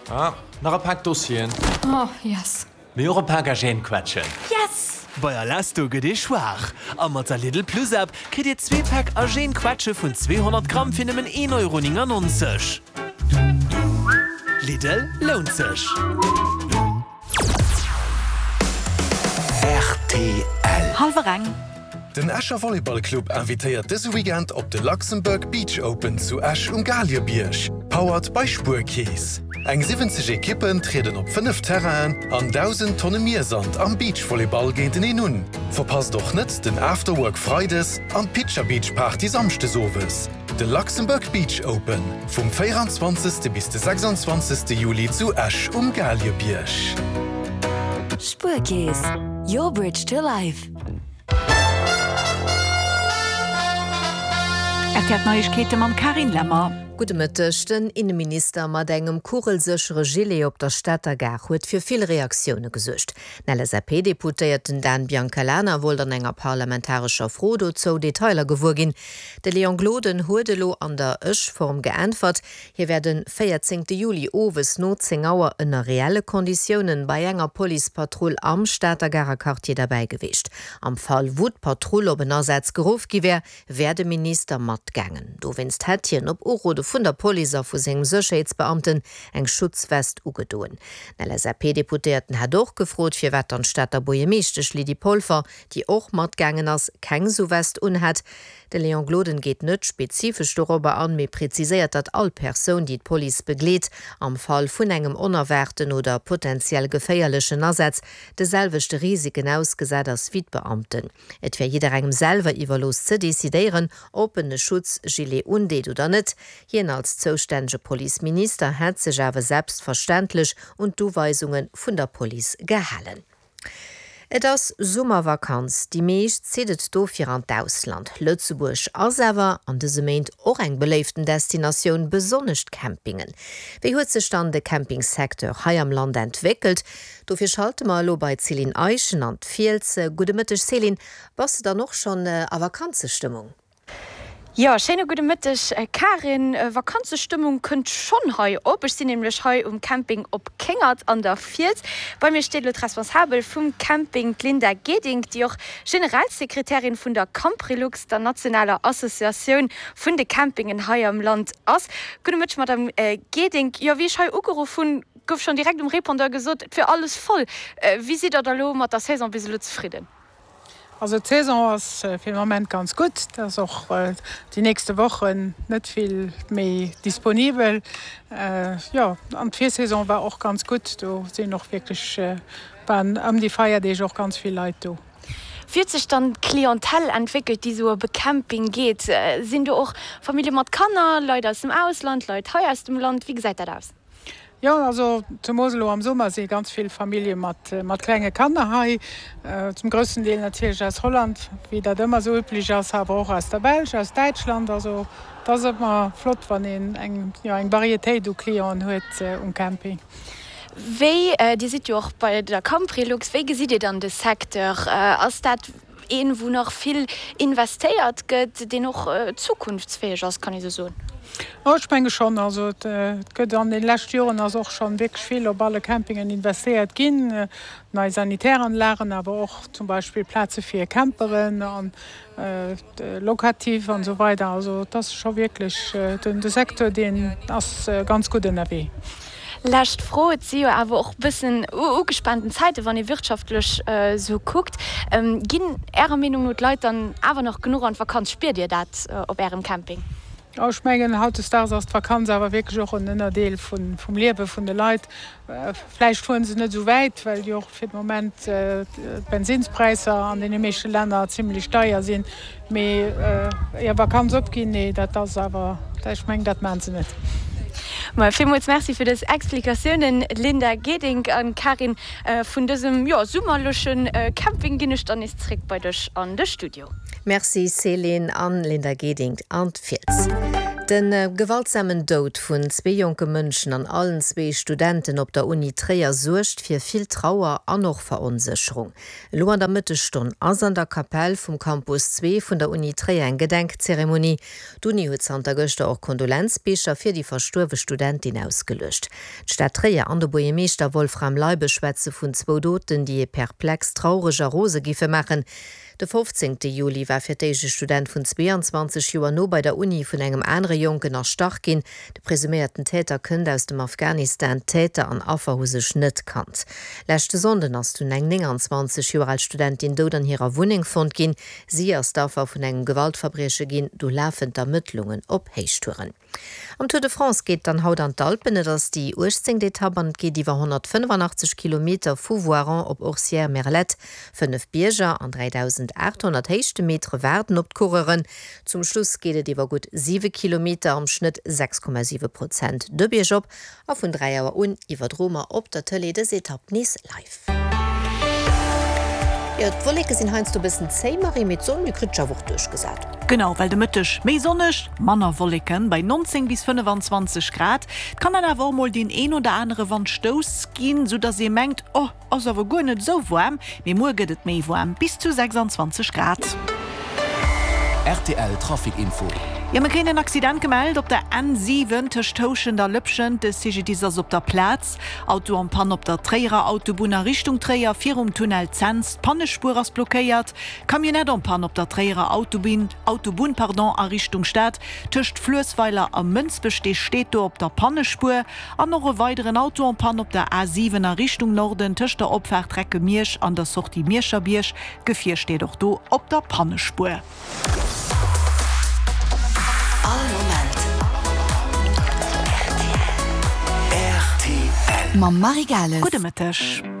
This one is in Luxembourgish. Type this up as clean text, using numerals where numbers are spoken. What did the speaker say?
Ah, nach e Pak Dossieren. Oh, yes. Mee och e Pak Agènequetschen. Yes! Bei Alesto gëtt ee schwaach a mat der Lidl Plus App kritt Dir zwee Päck Agènequetsche vun 200 Gramm fir nëmmen 1,99 Euro. Lidl, lount sech! Rtl. Hallwer eng. Den Escher Volleyball Club invitéiert dëse Weekend op de Luxembourg Beach Open zu Esch um Galiebierg, powered by Spuerkeess. Eng 70 Ekippen trieden op 5 Terrainen an 1.000 Tonne Miersand am Beachvolleyball géinteneen un. Verpasst och net den Afterwork Freides an d'Pitcher Beach Party Samschdes owes. De Luxembourg Beach Open vum 24. Bis de 26. Juli zu Esch um Galiebierg. Spuerkeess, your bridge to life. RTL Neiegkeete mam Carine Lemmer. Gudde Mëtteg. Den Inneminister mat engem kugelséchere Gilet op der Stater Gare huet fir vill Reaktioune gesuergt. Den LSAP-Deputéierten Dan Biancalana wollt an enger parlamentarescher Fro dozou Detailer gewuer ginn. De Léon Gloden huet elo an der Ech-Form geäntwert. Hie wär de 14 Juli owes no 10 Auer ënner reelle Konditiounen bei enger Policepatrull am Stater Garer Quartier derbäi geweecht. Am Fall wou d'Patrull op en Asaz geruff gi wär, wär de Minister matgaangen. Dowéinst hätt hien op Urode vun der Police a vu sengem Sécherheetsbeamten eng Schutzwest ugedoen. Den LSAP-Deputéierten hätt och gefrot, firwat dann d'Stater Buergermeeschtesch Lydie Polfer, déi och matgaangen ass, keng sou West unhätt. De Léon Gloden geet net spezifesch dorobber an, mee präziséiert, datt all Persoun, déi d'Police begleet, am Fall vun engem onerwaarten oder potentiell geféierlechen Asaz de selwechte Risiken ausgesat ass wéi d'Beamten. Et wär jidderengem selwer iwwerlooss ze decidéieren, ob en e Schutzgilet undeet oder net. Hien als zoustännege Policeminister hätt sech awer selbstverständlech un d'Uweisunge vun der Police gehalen. Et ass Summervakanz, déi meescht zitt et dofir an d'Ausland. Lëtzebuerg ass awer an dëse Méint och eng beléiften Destinatioun, besonnesch d'Campingen. Wéi huet sech dann de Campingsecteur hei am Land entwéckelt? Dofir schalte mer elo bei d'Céline Eischen an d'Fiels. Gudde Mëtteg Céline, bass de dann och schonn a Vakanzestëmmung? Jo, schéine gudde Mëtteg Karin. Vakanzestëmmung kënnt schonn hei op. Ech sinn nämlech hei um Camping op Kéngert an der Fiels. Bei mir steet elo d'Responsabel vum Camping, d'Linda Gedink, déi och Generalsekretärin vun der Camprilux, der nationaler Associatioun vun de Campingen hei am Land ass. Gudde Mëtteg Madame Gedink. Jo, wéi ech hei ugeruff hunn, gouf schonn direkt um Répondeur gesot, et wier alles voll. Wéi sidd der da elo mat der Saison bis elo zefridden? Also d'Saison ass fir de Moment ganz gutt. Et ass och déi nächste Wochen net vill méi disponibel. Jo, an d'Virsaison war och ganz gutt. Do sinn och wierklech, waren ëm déi Feierdeeg och ganz vill Leit do. Wéi huet sech dann d'Clientèle entwéckelt, déi esou op e Camping geet? Sinn do och Famillje mat Kanner, Leit aus dem Ausland, Leit hei aus dem Land? Wéi gesäit dat aus? Jo, also zemoos elo am Summer si ganz vill Famillje mat mat klenge Kanner hei. Zum groussen Deel natierlech aus Holland, wéi dat ëmmer esou üblech ass, awer och aus der Belsch, aus Däitschland. Also et ass ëmmer flott, wann een eng, jo, eng Varietéit u Clienten huet um Camping. Wéi, Dir sidd jo och bei der Camprilux, wéi gesitt Dir dann de Secteur? Ass dat Een, wou nach vill investéiert gëtt, deen och zukunftsfäeg ass, kann ee sou soen? Jo, ech menge schonn. Also et gëtt an de leschte Joren ass och schonn wierklech vill op alle Campingen investéiert ginn, nei Sanitäranlagen, awer och zum Beispill Plaze fir Camperen an locatif an esou weider. Also et ass scho wierklech, de Secteur deen ass ganz gutt ënnerwee. Lescht Fro, Et si jo awer och bëssen ugespaanten Zäiten, wann ee wirtschaftlech esou kuckt. Ginn Ärer Meenung no d'Leit dann awer nach genuch an d'Vakanz? Spiert Dir dat op Ärem Camping? Jo, ech mengen, hautdesdaags ass d'Vakanz awer wierklech och en Ënnerdeel vum Liewe vun de Leit. Vläicht fueren se net esou wäit, well jo och fir de Moment d'Bensinnspräisser an deene meeschte Länner zimlech deier sinn. Mee hir Vakanz opginn, nee, dat ass awer, ech mengen, dat maachen se net. Maja, villmools Merci fir dës Explikatiounen, Linda Gedink an Karin. Vun dësem, jo, summerleche Camping ginn ech dann nees zréck bei dech an de Studio. Merci Céline an Linda Gedink an d'Fiels. De gewaltsamen Doud vun zwee jonke Mënschen an allen zwee Studenten op der Uni Tréier suergt fir vill Trauer an och Veronsécherung. Elo an der Mëttesstonn ass an der Kapell vum Campus 2 vun der Uni Tréier eng Gedenkzeremonie. D'Uni huet zanter gëschter och Kondolenzbicher fir déi verstuerwe Studentin ausgeluecht. D'Stad Tréier an de Buergermeeschter Wolfram Leibe schwätze vun zwou Doten, déi ee perplex, traureg a rose giffe maachen. De 15 Juli war fir d'éischt e Student vun 22 Joer no bei der Uni vun engem anere Jonken erstach ginn. De presuméierten Täter kënnt aus dem Afghanistan. Täter an Affer hu sech net kannt. Leschte Sonnden ass dunn eng 29 Joer al Studentin dout an hirer Wunneng fonnt ginn. Si ass d'Affer vun engem Gewaltverbrieche ginn. Do lafen d'Ermëttlungen op Héichtouren. Am Tour de France geet et dann haut an d'Alpen. Et ass déi 18. Etapp an et geet iwwer 185 Kilometer vu Voiron op Orcières-Merlette. Fënnef Bierger an 3.800 Héichtemetere waarden op d'Coureuren. Zum Schluss geet et iwwer gutt 7 Kilometer, am Schnëtt 6,7 Prozent, de Bierg op. A vun 3 Auer un iwwerdroe mer op der Tëlee dës Etapp nees live. Jo, d'Wolleke sinn heiansdo e bëssen zéi, Marie, mee d'Sonn, déi kritt sech awer och duerchgesat. Genau, well de Mëtteg méi sonneg, manner Wolleken bei 19 bis 25 Grad. Et kann dann awer och mol deen een oder anere Wandstouss ginn, soudass ee mengt, oh, Ass awer guer net esou waarm, mee muer gëtt et méi waarm, bis zu 26 Grad. Rtl Trafic Info. Jo, mir kréien en Accident gemellt op der N7 tëscht Houschent a Lëpschent. De CGDIS ass op der Plaz. Auto en panne op der Tréierer Autobunn a Richtung Tréier virum Tunnel Cents. D'Pannespuer ass blockéiert. Camionnette en panne op der Tréierer Autobinn, Autobunn, pardon, a Richtung Stad tëscht Fluessweiler a Mënsbech. Dee steet do op der Pannespuer. An och e weideren Auto en panne op der A 7 a Richtung Norden tëscht der Opfaart Recke-Miersch an der Sortie Mierscherbierg. D'Gefier steet och do op der Pannespuer. All Moment rtl. Mam Marie Gales. Gudde Mëtteg.